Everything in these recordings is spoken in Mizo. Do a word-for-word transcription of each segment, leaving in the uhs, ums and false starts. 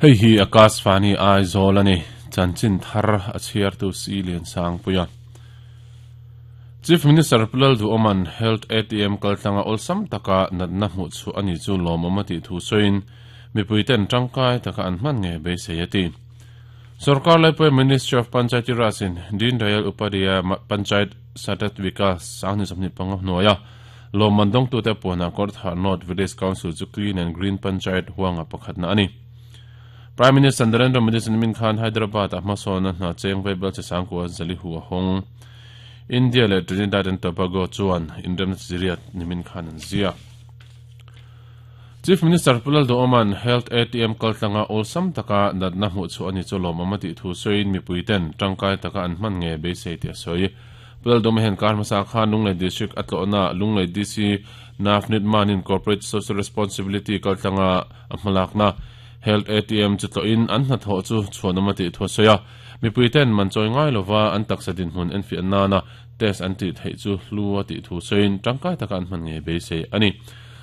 Hei hi Akashvani Aizawl ani chanchin thar a chhiar tu si lian sang puia Chief Minister Pulal Du Oman Health A T M kaltlanga olsam taka natna hmu chu ani chu lawmawm ti thu soin mipuiten tangkai taka an hman nge beisei ati. Sarkar laipui Ministry of Panchayati Raj in Deen Dayal Upadhyaya Panchayat Satat Vikas sangni samni panga hnuaia lawmman dawng tute puana Kawrthah North Village Council chu Clean and Green Panchayat huanga pakhatna ani. Prime Minister Narendra Modi chu nimin khan Hyderabad a hmasawn hna cheng vaibel che sangkua zali hu a hawng. India leh Trinidad and Tobago chuan inremna chiriat nimin khan an zia. Chief Minister Pulal Do Oman Health A T M kaltlanga olsam taka natna hmu chu ani chu lawmawm ti thu soin mipuiten tangkai taka an hman nge beisei ti a sawi. Pulal Do hen kar hmasa khan Lunglei District atlawhna Lunglei D C Navneet Manin Corporate Social Responsibility kaltlanga a hmalakna Health A T M chu tlawhin an hnathawh chu chhuanawm ti thu a sawi a. Mipuiten man chawi ngai lova an taksa dinhmun en fiah nana test an tih theih chu hlu a tih thu sawiin tangkai taka an hman nge beisei ani.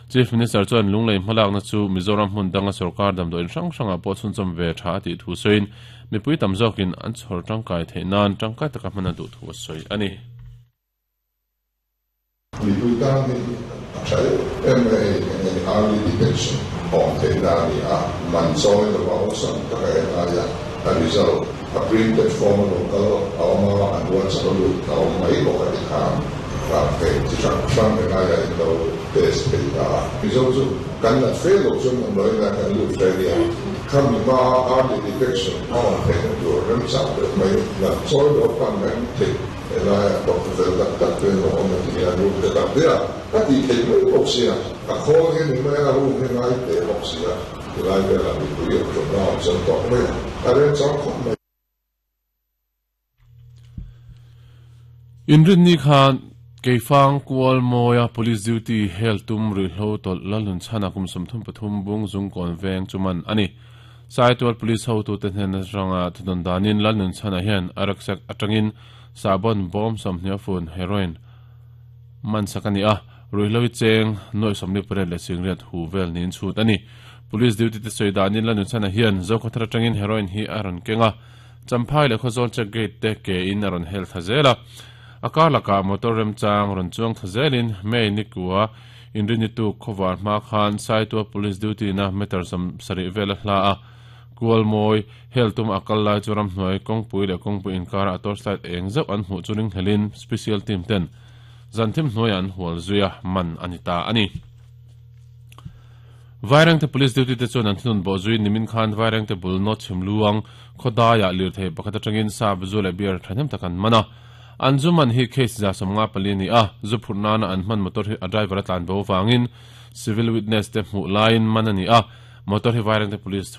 Chief Minister chuan Lunglei hmalakna chu Mizoram hmun danga sarkar damdawiin hrang hrangah pawh chhunchawm ve tha a tih thu sawiin mipui tam zawkin an chhawr tangkai theih nan tangkai taka hman a duh thu a sawi ani. Mipui tan hi a tha em em early detection awm theih na ani a, man chawi lova awlsam taka en aia a result a printed form a local a awm a, an WhatsApp a lut a awm mai bawk a, tikhan rak thei chi hrang hrang en aia in lo test thei ta a. Mizo chu kan nat fe lo chuan damdawiin ah kan lut hle nia, khami hma early detection a awm theihna tur remchang deuh mai nat chawi lo pan mai thei helaia doctor fel tak tak te lo awm a ti hian room te tak te a a tih theih mai bawk sia, a khawl hi ni mai a, room hi ngai te bawk sia, tilai velah mipui awm ṭawm na awm chuan tawk mai a, a remchang khawp mai. Inrinni khan Keifang kual mawia police duty hel tum ruihhlo tawlh lalnun chhana kum sawmthum pathum bung zungkawn veng chuman ani. Saitual police hotute hnen atanga thudawn danin lalnun chhana hian a rucksack atangin sahbawn bawm sawmhnih a fun heroin man sak ani a, ruihhlo hi cheng nuaih sawmli pariat leh singriat hu vel niin chhut ani. Police duty te sawi danin lalnun chhana hian Zokhawthar atangin heroin hi a rawn keng a, Champhai leh Khawzawl check gate te ke in a rawn hel thla zel a. A kar lakah motor remchang rawn chuang thla zelin May nikua inrini tuk khawvar hma khan Saitual police duty na meter sawm sarih vel a hla a, Kualmawi hel tum a kal lai chu ramhnuai kawngpui leh kawngpui inkarah a torchlight eng zeuh an hmuh chu ringhlelin special team ten zanthim hnuaiah an hual zui a, man a ni ta a ni. Vairengte police duty te chuan an thunun bawh zui nimin khan Vairengte bul nawt chhim luang khawdaiah lirthei pakhat atangin sap zu leh beer thahnem tak an man a. An zu man hi case za sawmnga pali a ni a, zu phurh nana an hman motor hi a driver a tlan bo vangin civil witness te hmuh laiin man a ni a, motor hi Vairengte police